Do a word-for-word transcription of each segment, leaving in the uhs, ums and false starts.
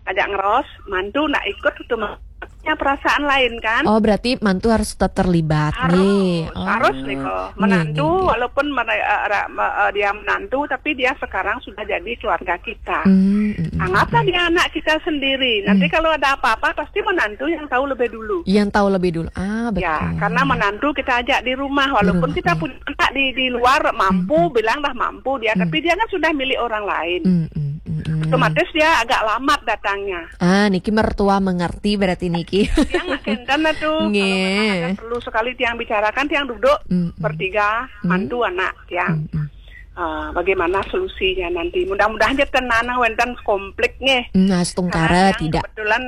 ajak ngeros, mantu nak ikut itu punya perasaan lain kan. Oh, berarti mantu harus tetap terlibat. Harus, nih. Oh, harus nih kok. Menantu, nih, nih, walaupun mere- eh, ra- me- eh, dia menantu, tapi dia sekarang sudah jadi keluarga kita. Hmm, hmm, hmm. Anggaplah dia anak kita sendiri. Nanti, hmm, kalau ada apa-apa, pasti menantu yang tahu lebih dulu. Yang tahu lebih dulu. Ah, betul. Ya, karena menantu kita ajak di rumah, walaupun kita punya anak di di luar, mampu, bilang dah mampu dia, tapi dia kan sudah milik orang lain. Hmm, hmm, hmm, hmm. Otomatis dia agak lambat datangnya. Ah, niki mertua mengerti berarti niki. Tiang nak kenten lah tuh. Kalau memang ada perlu sekali tiang bicarakan, tiang duduk bertiga, mantu, anak tiang. Ah, bagaimana solusinya nanti? Mudah-mudahan aja tenan wenten konflik nggih. Hmm, astungkara. Karena tiang tidak, kebetulan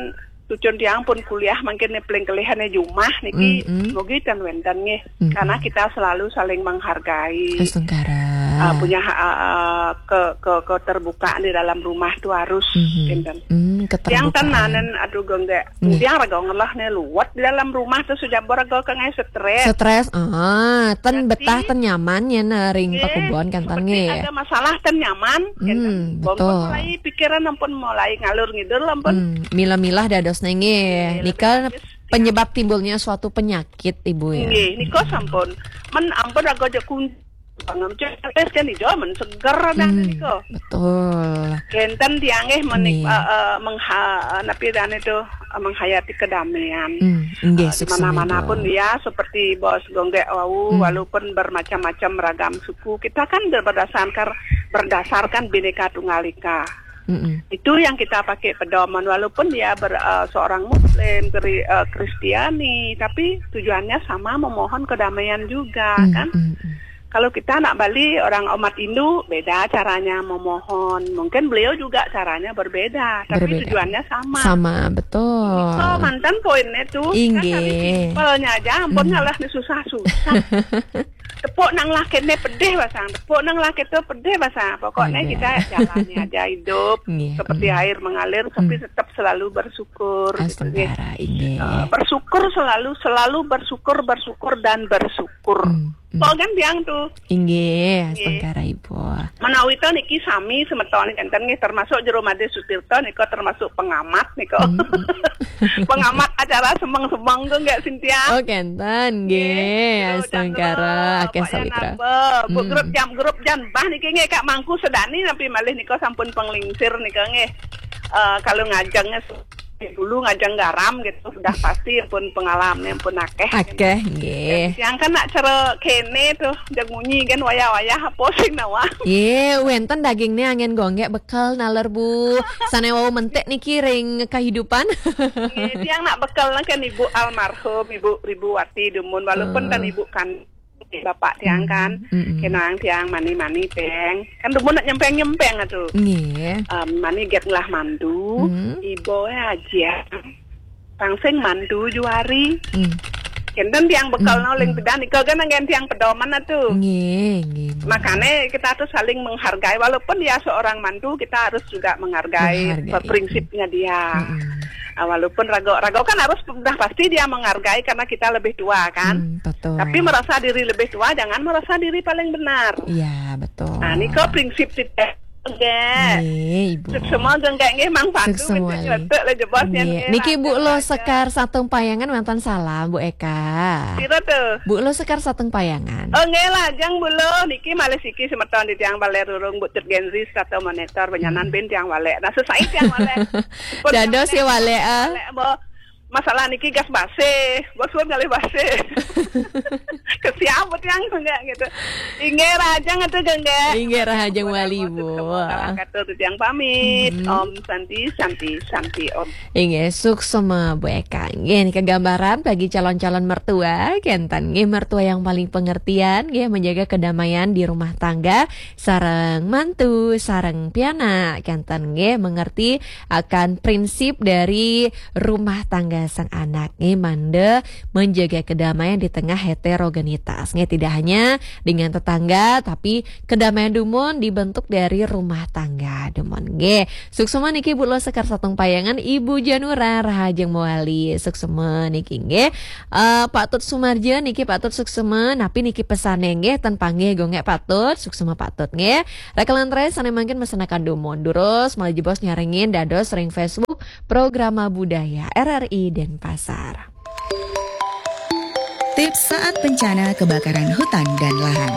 cucun tiang pun kuliah, mungkin nih paling kelihannya jumah niki, mugi ten wenten nggih. Karena kita selalu saling menghargai. Astungkara. Ah, punya ha- ah, ke, ke keterbukaan di dalam rumah tuh harus, enten. Hmm, tiang keterbukaan. Tenanen, aduh, Gung Gek. Nggih. Tiang raga ngelah nih luwet di dalam rumah tuh, sujabor raga kangge stres. Stres, ah, ten betah, ten nyaman ya, nah, ring pakubon kan, ten, seperti nggih, ada masalah ten nyaman, kan? Hmm, betul. Mulai pikiran ampun mulai ngalur ngidur ampun. Hmm, milah-milah dados nggih. Iya, nika lebih penyebab timbulnya suatu penyakit, Ibu, ya. Nggih, nika sampun. Men ampun raga aja kun- Pangam cek kan ijo men seger dah nika. Betul. Kenten tiang nggih menik- eh, eh, mengha- eh, napi dan itu, eh, menghayati kedamaian. Hmm, nggih, eh, di mana-mana pun ya, seperti Bos Gung Gek wau, walaupun bermacam-macam ragam suku, kita kan ber- berdasarkan berdasarkan Bhinneka Tunggal Ika. Mm-mm. Itu yang kita pakai pedoman, walaupun dia ber- eh, seorang Muslim, Kri- eh, Kristiani, tapi tujuannya sama, memohon kedamaian juga, kan? Mm-mm. Kalau kita anak Bali, orang umat Hindu, beda caranya memohon. Mungkin beliau juga caranya berbeda, tapi tujuannya sama. Sama, betul. Itu mantan poinnya tuh. Kan kami simpelnya aja, ampun, ngalah nih susah-susah. Tepuk nang lakene pedih basang, tepuk nang lakene pedih basang. Pokoknya kita jalani aja hidup seperti air mengalir, tapi tetap selalu bersyukur, gitu, nggih. Astungkara, nggih. Eh, bersyukur selalu, selalu bersyukur, bersyukur dan bersyukur. Hmm, hmm. Kok kan tiang tuh? Inggih, astungkara, Ibu. Menawi to niki sami semeton kenten nggih, termasuk Jero Madé Sutirta nika termasuk pengamat nika. Hmm, hmm. Pengamat acara semeng-semeng tuh nggih, Sintia. Oh, kenten nggih. Astungkara, akeh sawitra. Bu grup jam, grup jam bah niki nggih, Kak Mangku Sedani nampi malih nika sampun penglingsir nika nggih. Eh, kalau ngajengnya dulu ngajeng garam gitu, sudah pasti pun pengalaman pun akeh. Akeh nggih. Yang kan nak cara kene tuh, jag munyi kan wayah-wayah pusing nawa. Ye, wenten daging nih angin gonggek bekel naler, Bu. Sane wau mentik niki ring kehidupan. Nggih, tiang nak bekel kan Ibu almarhum, Ibu Ribuwati dumun, walaupun kan Ibu kan Bapak tiang kan, kenang tiang mani-mani peng. Kan dumun nak nyempeng-nyempeng atuh. Nggih. Em, mani get ngelah mandu, ibu aja. Tangsing mandu juari. Hmm. Kenten tiang bekel no ling tegan, iko kan anggen tiang pedoman atuh. Nggih, nggih, nggih. Makanya kita tuh saling menghargai, walaupun dia seorang mantu, kita harus juga menghargai prinsipnya dia. Mm-mm. Ah, walaupun rago, rago kan harus udah pasti dia menghargai karena kita lebih tua kan. Hmm, betul. Tapi merasa diri lebih tua, jangan merasa diri paling benar. Iya, betul. Nah, niko prinsip titik. Nggih. Nggih, Ibu. Suksma nggih, nggih, Mang Pandu. Suksma, nggih. Niki Bu Lo Sekar Satung Payangan wonten salam, Bu Eka. Pira tuh? Bu Lo Sekar Satung Payangan. Oh, nggih, lajeng Bu Lo. Niki malih siki semeton di tiang Baler Rurung, Bu Cut Genzi, Sato Monitor, Benyanan bin tiang Walek. Nah, sesai tiang Walek. Dados ya Walek, ah. Walek, Bu. Masalah niki gas basih, bos pun ngalih basih. Kesian bet yang enggak gitu. Inggih, rahajeng atuh, Genggek. Inggih, rahajeng wali, Bu. Kata tuh yang pamit. Om Santi, Santi, Santi, Om. Inggih, suksma, Bu Eka. Inggih, niki gambaran bagi calon-calon mertua, kenten nggih, mertua yang paling pengertian, nggih, menjaga kedamaian di rumah tangga, sareng mantu, sareng pianak, kenten nggih, mengerti akan prinsip dari rumah tangga sang anak nggih, mangda menjaga kedamaian di tengah heterogenitas nggih, tidak hanya dengan tetangga tapi kedamaian dumun dibentuk dari rumah tangga dumun nggih. Suksma niki Bu Lo Sekar Satung Payangan, Ibu Janura rahajeng mawali. Suksma niki nggih. Eh, Pak Tut Sumarja niki Pak Tut suksma, napi niki pesane nggih, ten panggih gonggek Pak Tut, suksma Pak Tut nggih. Rekalantre sane mangkin mesenakan dumun. Durus malih jebos nyarengin dados ring Facebook Programa Budaya R R I Denpasar. Tips saat bencana kebakaran hutan dan lahan.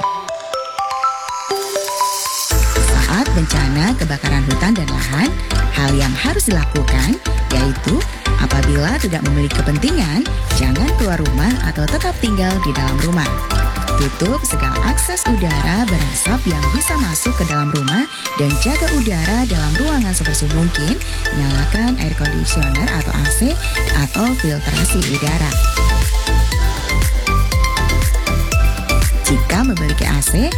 Saat bencana kebakaran hutan dan lahan, hal yang harus dilakukan yaitu apabila tidak memiliki kepentingan, jangan keluar rumah atau tetap tinggal di dalam rumah. Tutup segala akses udara berasap yang bisa masuk ke dalam rumah dan jaga udara dalam ruangan sebersih mungkin. Nyalakan air conditioner atau A C atau filtrasi udara. Jika memiliki A C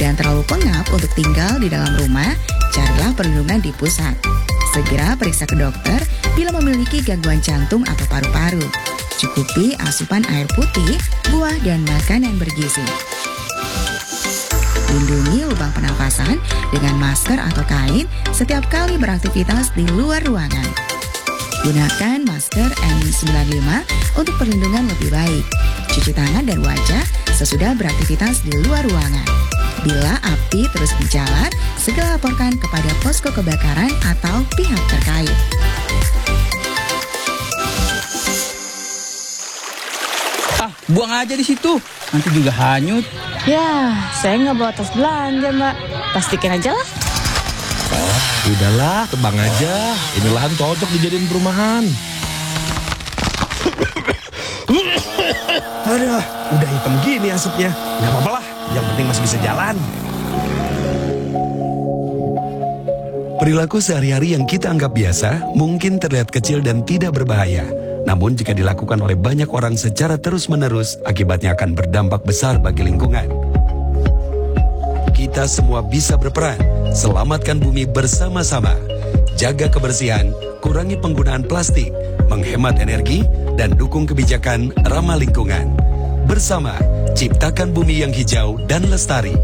dan terlalu pengap untuk tinggal di dalam rumah, carilah perlindungan di pusat. Segera periksa ke dokter bila memiliki gangguan jantung atau paru-paru. Cukupi asupan air putih, buah, dan makanan bergizi. Lindungi lubang pernafasan dengan masker atau kain setiap kali beraktivitas di luar ruangan. Gunakan masker N sembilan lima untuk perlindungan lebih baik. Cuci tangan dan wajah sesudah beraktivitas di luar ruangan. Bila api terus menjalar, segera laporkan kepada posko kebakaran atau pihak terkait. Ah, buang aja di situ. Nanti juga hanyut. Ya, saya nggak bawa tas belanja, Mbak. Plastikin aja lah. Udahlah, tebang aja. Ini lahan cocok dijadiin perumahan. Aduh, udah hitam gini asapnya. Nggak apa-apa lah, yang penting masih bisa jalan. Perilaku sehari-hari yang kita anggap biasa mungkin terlihat kecil dan tidak berbahaya. Namun jika dilakukan oleh banyak orang secara terus-menerus, akibatnya akan berdampak besar bagi lingkungan. Kita semua bisa berperan. Selamatkan bumi bersama-sama. Jaga kebersihan, kurangi penggunaan plastik, menghemat energi, dan dukung kebijakan ramah lingkungan. Bersama, ciptakan bumi yang hijau dan lestari.